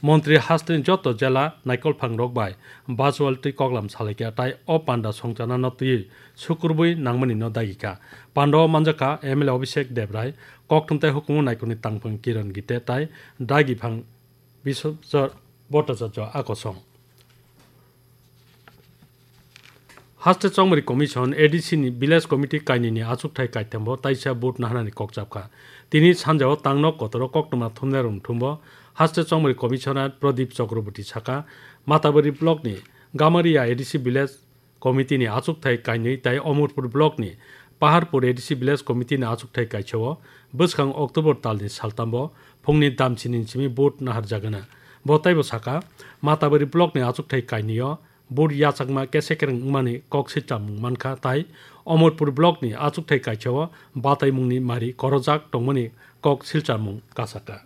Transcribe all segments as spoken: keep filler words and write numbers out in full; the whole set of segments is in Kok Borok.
Montri hasteni joto jela naikolphangrok bai virtual twi koklam salaikha, tai o panda songchanano twiwi sukurbwi nangmani no dagikha. Pandao manjakha M L A Abhishek Debrai, kokthum tai hukumu naikolni tangphang Kiran Gite tai dagiphang Biswajit Bhattacharya akosong. Haste Chongmari Commission, A D C ni Village Committee kainwini achukthai kaithambo taisa vote naharnani kok chapkha. Tini sanjao tangno kotoro koktwma thumnairokni thumbo Haste Chongmari Commissioner Pradip Chakraborty sakha, Matabari block ni Gamaria A D C Village Committee ni achukthai kainwi tai Omorpur block ni Paharpur A D C Village Committee ni achukthai kaisao bwskang October talni saltambo phungni damchini simi vote naharjagana. Bo taibo sakha, Matabari block ni achukthai kainwio vote yachakma kese kereng wngmani kok silchamung mankha, tai Omorpur block ni achukthai kaisao bataimungni mari korojak tongmani kok silchamung kasakha.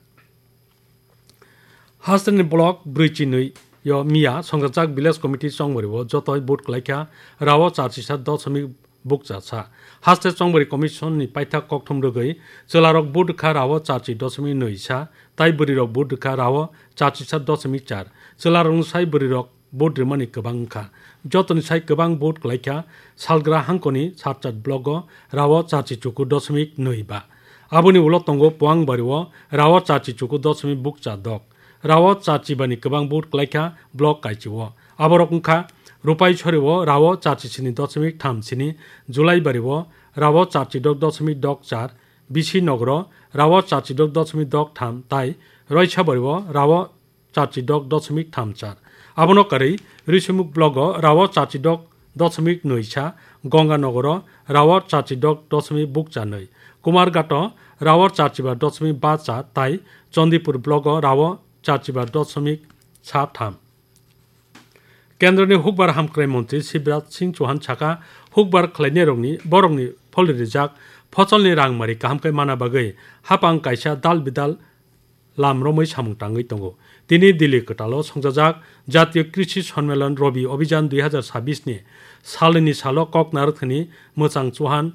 Hasteni block brwi chinwi yo miya songchajak village committee chongmari o jotoi vote kwlaikha, rao charchisa doshomik bukcha sa. Haste Chongmari Commission ni paithak kokthum rwgwi chwlarok vote rwkha rao charchi doshomik nwi sa, tai bwrwirok vote rwkha rao charchisa doshomik char. Chwlarokni sai bwrwirok vote rwmani kwbang wngkha. Jotoni sai kwbang vote kwlaikha Salgra hangkoni Sarchat block o rao charchi chuku doshomik nwi ba. Aboni ulo tongo Puangbari o rao charchi chuku doshomik bukcha dok. Rao charchi bani kwbang vote kwlaikha block kaichi o. Aborok wngkha Rupaisori o rao charchi sini doshomik tham sini, Julaibari o rao charchi dok doshomik dok char, Bisi Nogor o rao charchi dok doshomik dok tham tai Roisabari o rao charchi dok doshomik tham char. Abono karwi Risumuk block o rao charchi dok doshomik nwi sa, Gonganagar o rao charchi dok doshomik bukcha nwi, Kumarghat o rao charchi ba doshomik ba char tai Chandipur block o rao charchi ba doshomik sa tham. Kendroni hukbar hamkrai montri Shivraj Singh Chauhan sakha, hukbar khlainairokni borokni pholri rijak phosolni rangmari kaham khe mana bagwi hapang kaisa dal bidal lam romwi samung tangwi tongo. Tini Delhi kwtalo songchajak Jatiyo Krishi Sonmelan Rabi Abhijan dui hazar sabbish ni salni salo kok narwkthani mwchang Chauhan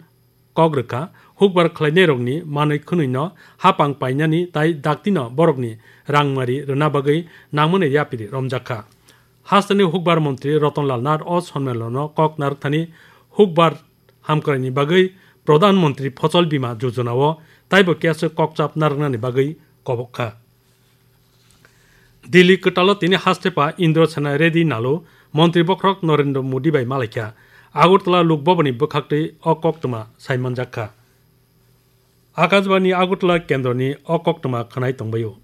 kok rwkha, hukbar khlainairokni manwi khwnwino hapang painani tai daktino borokni rangmari rwna bagwi nangmani yapiri romjakha. Hasteni hukbar montri Ratan Lal Nath o sonmelono kok narwkthani hukbar hamkraini bagwi Pradhan Mantri Fosol Bima Yojana o taibo keso kokchap narwknani bagwi kobok kha. Delhi kwtalo tini haste pa Indra Sena Reddy Nalu Montri Bokhorok Narendra Modi bai malaikha. Agartala Lok Bhavan ni bwkhaktwi o koktwma saimanjak kha. Akashbani Agartala kendroni o koktwma khwnai tongbaio.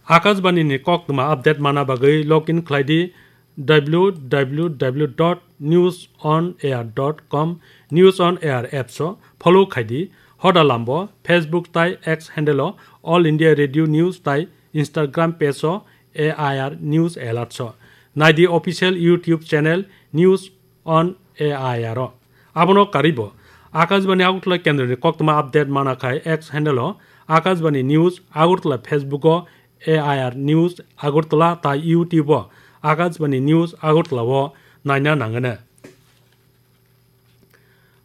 Akashbani ni koktwma update mana bagwi login khlai di W W W dot news on air dot com, News on Air apps o follow khai di. Hoda lambo Facebook tai X handle o All India Radio News tai Instagram page o A I R News Alerts o. Nai di official YouTube channel News on A I R o. Abono karwibo Akashbani Agartala kendroni koktwma update mana khai X handle o Akashbani News Agartala, Facebook o A I R News Agartala tai YouTube o Akashbani News Agartala o naina nangano.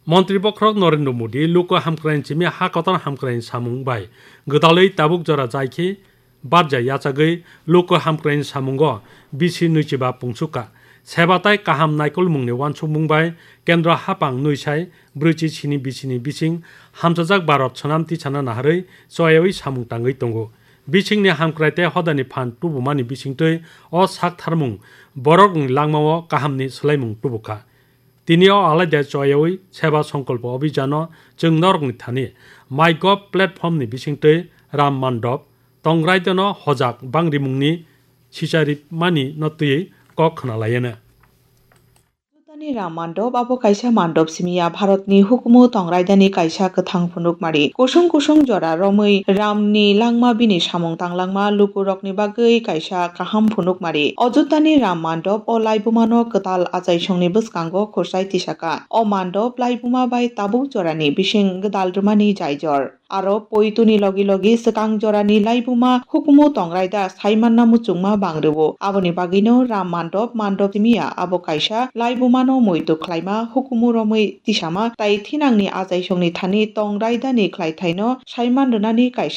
Montri Bokhorok Narendra Modi luku hamkraini simi ha kotor hamkraini samung bai gwdalwi tabuk jora jai khe barja yachagwi luku hamkraini samungo bisi nwichiba pungsukha. Seba tai kaham naikolmungni uansukmung bai kendro hapang nwisai brwichi sini bisini bising hamchajak Bharat swnam tisana naharwi choyawi samung tangwi tongo. Bisingni hamkrai tei hodani phan tubumani bisingtwi o saktharmung borokni langmao kahamni swlaimung tubukha. Tini o alaida choyawi Seba Songkolpo Abhijano chwng norokni thani MyGov platform ni bisingtwi Ram Mandop, Tongrai Dano hojak bangrimungni sicharipmani no twiwi kok khna laiano. Ajutani Ram Mandop abo kaisa mandop simi ya, Bharatni hukumu Tongrai Dani kaisa kwthang phunukmari. Kusung kusung jora romwi Ramni langma bini samung tanglangma lukurokni bagwi kaisa kaham phunukmari. Ajutani Ram Mandop o laibumano kwtal achaisongni bwskango khurchai tisaka. O mandop laibuma bai tabuk jorani bising gwdal rwmani jaijor. Aro poitoni logi logi swkang jorani laibuma hukumu Tongrai Da saimanna muchungma bang rwo. Aboni bagwino Ram Mandop, mandop simi ya abo kaisa laibumano muitu khlaima, hukumu romwi tisama tai thinangni achaisongni thani Tongrai Dani khlaithaino saiman rwnani kaisa